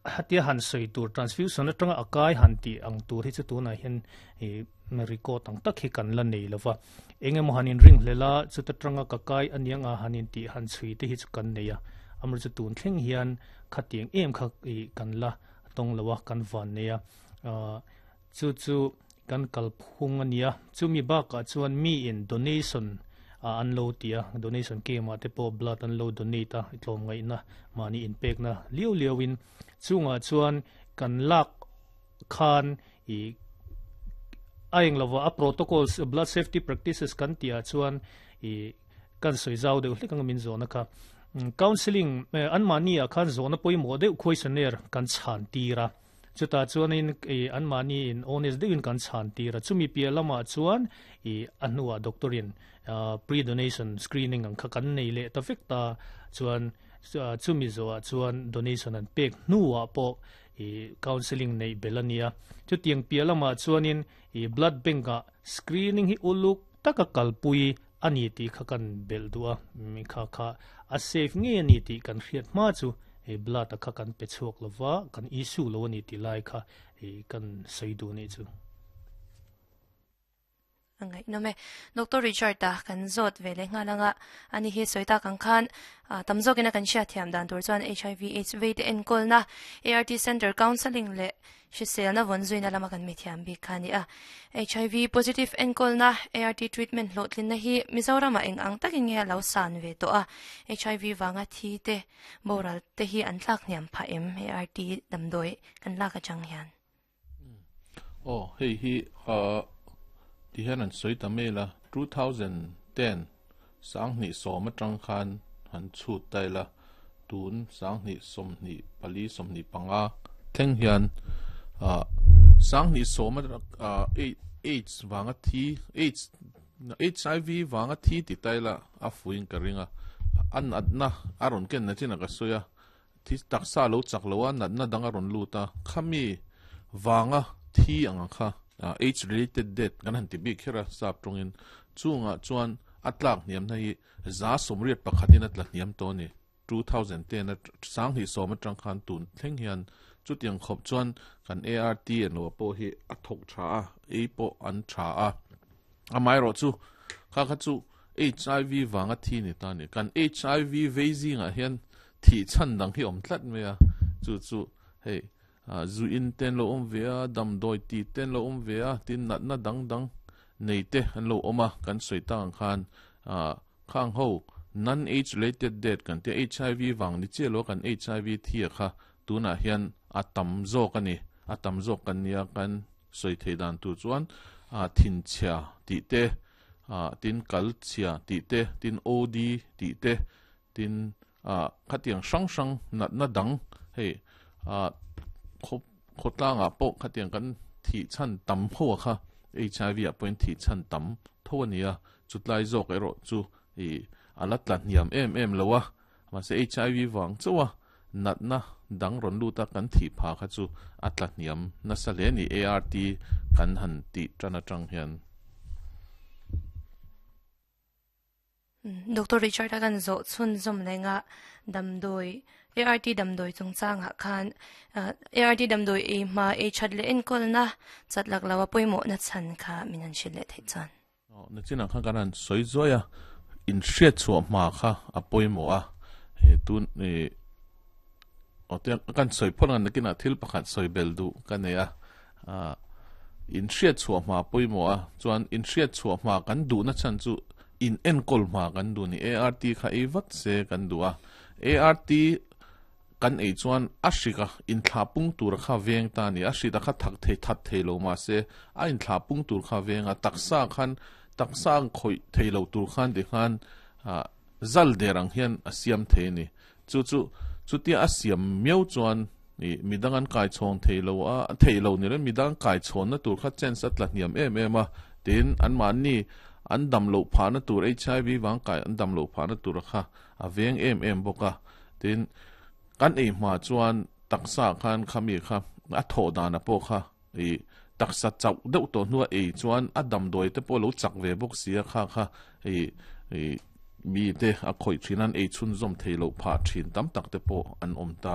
Hatia han sawi tur transfusion atanga a kai han tih ang tur hi chu tunah hian ih record ang tak hi kan la nei lova. Eng emaw han inring hlel a, chuta tanga ka kai aniang a han intih han chhui te hi chu kan nei a. Amaherawhchu tun thleng hian khatiang em kha ih kan la tawng lo a, kan van nei a. Chu chu kan kalphung a nia. Chumi bakah chuan miin donation an lo ti a, donation camp ah te pawh blood an lo donate a, tlawmngaihna mahni inpekna liau liauin chungah chuan kan lak khan ih a eng lova a protocols blood safety practices kan tih ah chuan ih kan sawi zau deuh hlek anga min zawhna kha. Counselling anmahni ah khan zawhna pawimawh deuh questionnaire kan chhan tir a. Chutah chuanin ih anmahni in honest deuhin kan chhan tir a, chumi piah lamah chuan ih a hnuah doctor in pre-donation screening ang kha kan nei leh ta vek ta chuan chumi zawhah chuan donation an pek hnuah pawh ih counselling neih belh a nia. Chutiang piah lamah chuanin ih blood bank ah screening hi uluk taka kalpui a ni tih kha kan belh duh a, kha kha a safe ngei a ni tih kan hriat hma chu hei blood a kha kan pe chhuak lo va, kan issue lo a ni tih lai kha hei kan sawi duh nih chu. A ngaihnawm e. Doctor Richard-a kan zawt ve leh nghal anga ani hi sawi tak ang khan tam zawkin a kan hriatthiam dan tur chuan HIV AIDS vei te enkawlna ART Centre Counselling leh Hriselna vawn zuina lama kan mithiam bik kha a ni a. HIV positive enkawlna, ART treatment hlawhtlinna hi Mizoramah eng ang takin nge a lo san ve tawh a? HIV vanga thi te, boral te hi an tlak hniam phah em ART damdawi kan lak atang hian? Aw, hei hi ti hian an sawi ta mail a, 2010 sanghnih sawm atang khan han chhut ta ila, tun 2024 25 thleng hian 2010 AIDS vanga thi AIDS HIV vanga thi ti ta ila a fuin ka ring a, a natna a rawn ken na chin a ka sawi a, thi taksa lo chak lo a natna dang a rawn lut a, khami vanga thi ang kha AIDS related death kan han ti bik kher a sap tawngin chungah chuan a tlak hniamna hi 181 in a tla hniam tawh a ni. 2010 a 2010 atang khan tun thleng hian chutiang khawp chuan kan ART an lo pawh hi a thawk tha a, ei pawh an tha a. Amaherawh chu kha kha chu HIV vanga thi ni ta a ni. Kan HIV vei zingah hian thih chhan dang hi awm tlat mai a, chu chu hei zu in te an lo awm ve a, damdawi ti te an lo awm ve a, tin natna dang dang nei te an lo awm a, kan sawi tak ang khan khang ho non-AIDS related death kan tia HIV vang ni chiah lo kan HIV thi a kha tunah hian a tam zawk a ni, a tam zawk kan nia kan sawi theih dan tur chuan thinchhia tih te, tin kal chhia tih te, tin OD tih te, tin khatiang hrang hrang natna dang hei khawtlangah pawh khatiang kan thih chhan tam ho a kha HIV ah pawhin thih chhan tam tho a ni a, chutlai zawk erawh chu ih a la tla hniam em em lo a, mahse HIV vang chauh a natna dang rawn lut a kan thih pha kha chu a tla hniam nasa hle a ni ART kan han tih tan atang hian. Doctor Richard a kan zawh chhunzawm lenga damdawi ART damdawi chungchangah khan ART damdawi ei hma ei that leh enkawlna chat lak lo a pawimawhna chhan kha min han hrilh leh theih chuan. Nachinah khan kan han sawi zuai a, inhriat chhuah hma kha a pawimawh a, he tun ih aw tiang kan sawi phawt ang nakinah thil pakhat sawi bel duh ka nei a, inhriat chhuah hma pawimawh a, chuan inhriat chhuah hma kan duhna chhan chu in enkawl hma kan duh ni, ART kha ei vat se kan duh a, ART kan ei chuan a hrik a inthlah pung tur kha veng ta a ni, a hrit a kha thak thei that thei lo mahse a inthlah pung tur kha veng a, taksa khan taksa ang khawih thei lo tur khan tikhan zal der ang hian a siam thei a ni. Chu chu chutia a siam miau chuan ih midang an kai chhawn thei lo a, thei lo ni reng midang an kai chhawnna tur kha chance a tla hniam em em a, tin anmahni an dam loh phahna tur HIV vang kai an dam loh phahna tur kha a veng em em bawk a, tin kan ei hma chuan taksa khan khami kha a thawh dana pawh kha ih taksa chauh deuh tawh hnua ei chuan a damdawi te pawh lo chak ve bawk si a kha kha ih ih mi te a khawih thin an ei chhunzawm thei loh phah thin tam tak te pawh an awm ta.